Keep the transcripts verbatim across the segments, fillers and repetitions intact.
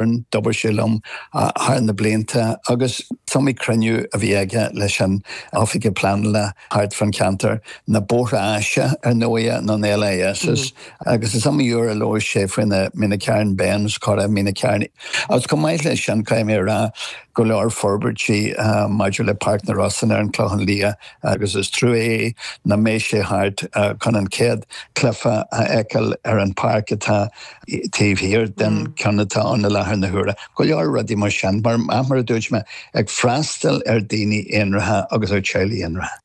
D'obair sé liom thar na blianta agus is iomaí cruinniú a bhí aige leis an oifigeach pleanála thart fan ceantar na bóithre áise ar ndóigh na L I S mm -hmm. Agus is iomaí uair a labhair sé faoi na Meenacarron Bends chora Meenacarron. Agus chomh maith leis sin, caithfidh mé rá go leor forbairtí uh, maidir le Páirc na Rosann ar an Chlochán Liath, agus is trua é nach mbeidh sé thart uh, chun an chéad chluiche a fheiceáil ar an pháirc atá taobh thiar den mm. ceann atá ann i láthair na huaire. Go leor rudaí mar sin, mar mar a dúirt mé, ag freastal ar daoine aonraithe agus ar teaghlaigh aonraithe.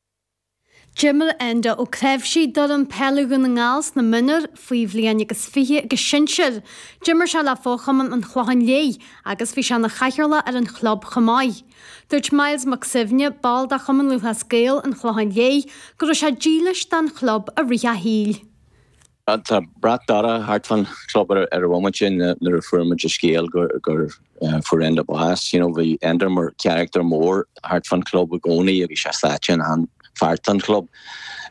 D'imir Enda Ó Creimhsí d'fhoireann peile Dhún na nGall sna mionúir, faoi bhliain agus fiche agus sinsir. D'imir sé le fo-chumann an Chlocháin Léith agus bhí sé ina chathaoirleach ar an chlub chomh maith. Dúirt Miles Mac Suibhne, ball de Chumann Lúthchleas Gael an Chlocháin Léith, go raibh sé dílis don chlub i rith a shaoil. Tá brat dorcha thart fan club ar ar bhomaite sin nuair a fuair muid an scéal gur gur fuair Enda bás. you know, bhí Enda mar character mór thart fan club i gcónaí agus sé sáite an feart an club.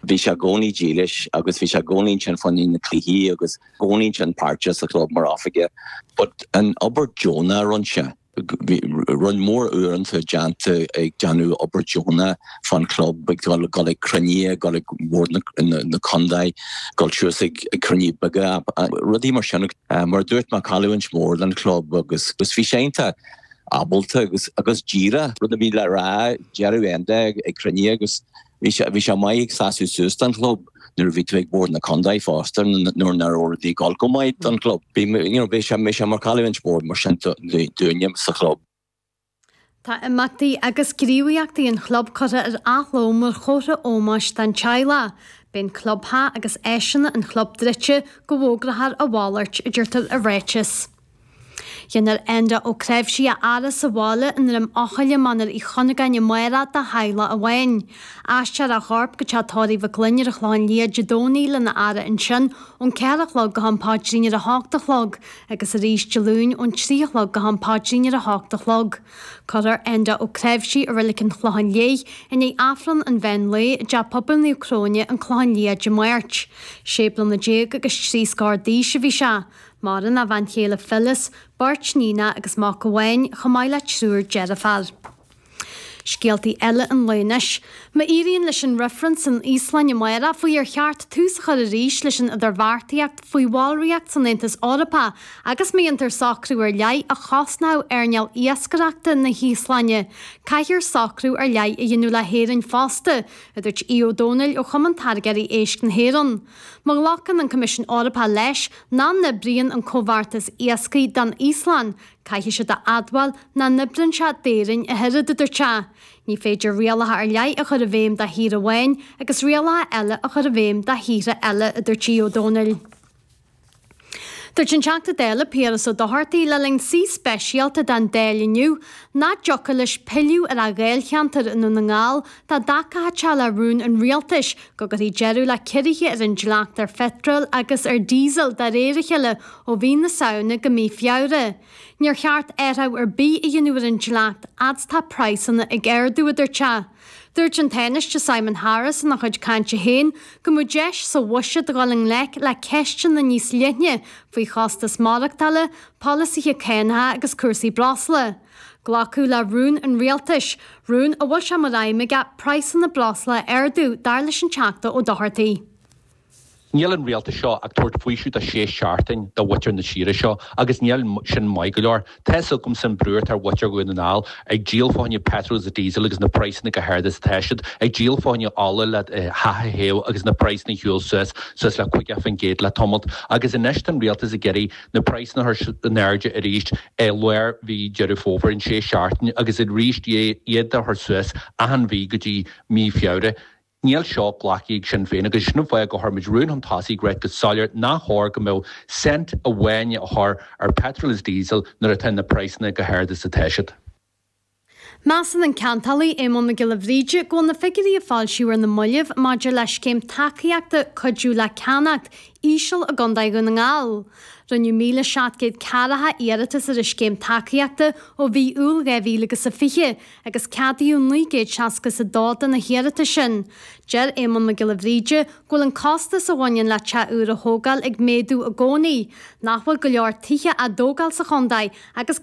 Bhí sé i gcónaí dílis agus bhí sé i gcónaí sin fan na cluichí agus i gcónaí sin páirteach sa club mar oifigeach. But an obair deonach a rinne sé. Rud mór uaireanta déanta ag déanamh obair deonach fan club, ag dul ag cruinnithe, dul ag bord na contae, dul suas ag cruinnithe beaga, rudaí mar sin. Mar dúirt mé, cailliúint mór don club agus agus bhí sé ábalta agus agus díreach rud a bhí le rá deireadh Enda ag cruinnithe agus bhí bhí sé maith ag seasamh suas don club nuair a bhí tú ag bord na contae fosta nuair nach raibh rudaí ag dul go maith don club. Bhí sé bhí sé mar cailliúint mór mar sin dúinne sa chlub. Tá imeachtaí agus gníomhaíochtaí an chlub curtha ar athló mar chomhartha ómóis don teaghlach. Beidh an clubtheach agus áiseanna an chlub druidte go bhfógrófar a mhalairt, a deirtear i ráiteas. Déanfar Enda Ó Creimhsí a fhaire sa bhaile i nDroim Eochaille, Mainéar Uí Chunagáin amárach dá theaghlach amháin. Aistreofar a chorp go teach tórraimh Mhic Fhloinn ar an Chlochán Liath Dé Domhnaigh lena fhaire ansin ón ceathair a chlog go ham paidrín ar a hocht a chlog agus arís Dé Luain ón trí a chlog go ham paidrín ar a hocht a chlog. Cuirfear Enda Ó Creimhsí i Reilig an Chlocháin Léith i ndiaidh Aifreann an mheán lae i dTeach Pobail Naomh Cróine, an Clochán Liath Dé Máirt. Sé bliana déag agus trí scór d'aois a bhí sé. Maireann a bhean chéile Phyllis, beirt iníon agus mac amháin, chomh maith le triúr deirfiúr. Scéaltaí eile an lae anois. Má éiríonn leis an reifreann san Íoslainn amárach faoi ar cheart tús a chur arís leis an idirbheartaíocht faoi bhallraíocht san Aontas Eorpach agus má dhéantar socrú ar leith a chosnódh earnáil iascaireachta na hÍoslainne, caithfear socrú ar leith a dhéanamh le hÉirinn fosta, a dúirt Aodh Ó Domhnaill ó Chumann Táirgeoirí Éisc na hÉireann. Má ghlacann an Coimisiún Eorpach leis nach n-oibríonn an comhbheartas iascaigh don Íoslainn, caithfidh siad a admháil nach n-oibríonn sé d'Éirinn a thuilleadh, a dúirt sé. Ní féidir rialacha ar leith a chur i bhfeidhm do thír amháin agus rialacha eile a chur i bhfeidhm do thíortha eile, a dúirt Aodh Ó Domhnaill. Dúirt an Teachta Dála Piaras Ó Dochartaigh le linn suí speisialta den Dáil inniu nach dtiocfadh leis pilleadh ar a dháilcheantar i nDún na nGall dá dtacódh sé le rún an rialtais go gcuirfí deireadh le ciorruithe ar an dleacht ar pheitreal agus ar diesel de réir a chéile ó mhí na Samhna go mí Feabhra. Níor cheart athrú ar bith a dhéanamh ar an dleacht fhad is atá praghsanna ag ardú, a dúirt sé. Dúirt an Tánaiste Simon Harris ina chuid cainte féin go mbeadh deis sa bhuiséad dul i ngleic le ceisteanna níos leithne faoi chostas maireachtála, polasaithe cánacha agus cúrsaí breosla. Glacadh le rún an rialtais, rún a bhfuil sé mar aidhm aige praghsanna breosla a ardú, dar leis an Teachta Ó Dochartaigh. Níl an rialtas seo ag tabhairt faoiseamh do sé seachtain do mhuintir na tíre seo agus níl sin maith go leor. Tá agam san brú ar mhuintir Dhún na nGall ag díol fá choinne petrol is diesel agus na praghsanna go hard is atá siad, ag díol fá choinne ola le teach a théamh agus na praghsanna shiúil suas suas le caoga faoin gcéad le tamalt, agus anois tá an rialtas ag iarraidh na praghsanna a chur in airde arís i lár mhí Deireadh Fómhair in sé seachtain agus arís iad a chur suas achan mhí go dtí mí Feabhra. Níl seo glactha ag Sinn Féin agus sin an fáth gur chuir muid rún chun tosaigh ag rá go soiléir nach chóir go mbeadh cent amháin a chur ar petrol is diesel nuair atá na praghsanna go hard is atá siad. Measann an ceantálaí Éamonn Mac Giolla Bhríde go bhfuil na figiúirí a foilsíodh ar na mallaibh maidir le scéim tacaíochta cuidiú le ceannacht íseal i gContae Dhún na nGall. Rinneadh míle seacht gcéad ceathracha iarratas ar an scéim tacaíochta ó mhí Iúil dhá mhíle agus a fiche agus ceadaíodh naoi gcéad seasca is a dó de na hiarratais sin. Deir Éamonn Mac Giolla Bhríde go bhfuil an costas a bhaineann le teach úr a thógáil ag méadú i gcónaí, nach bhfuil go leor tithe á dtógáil sa chontae agus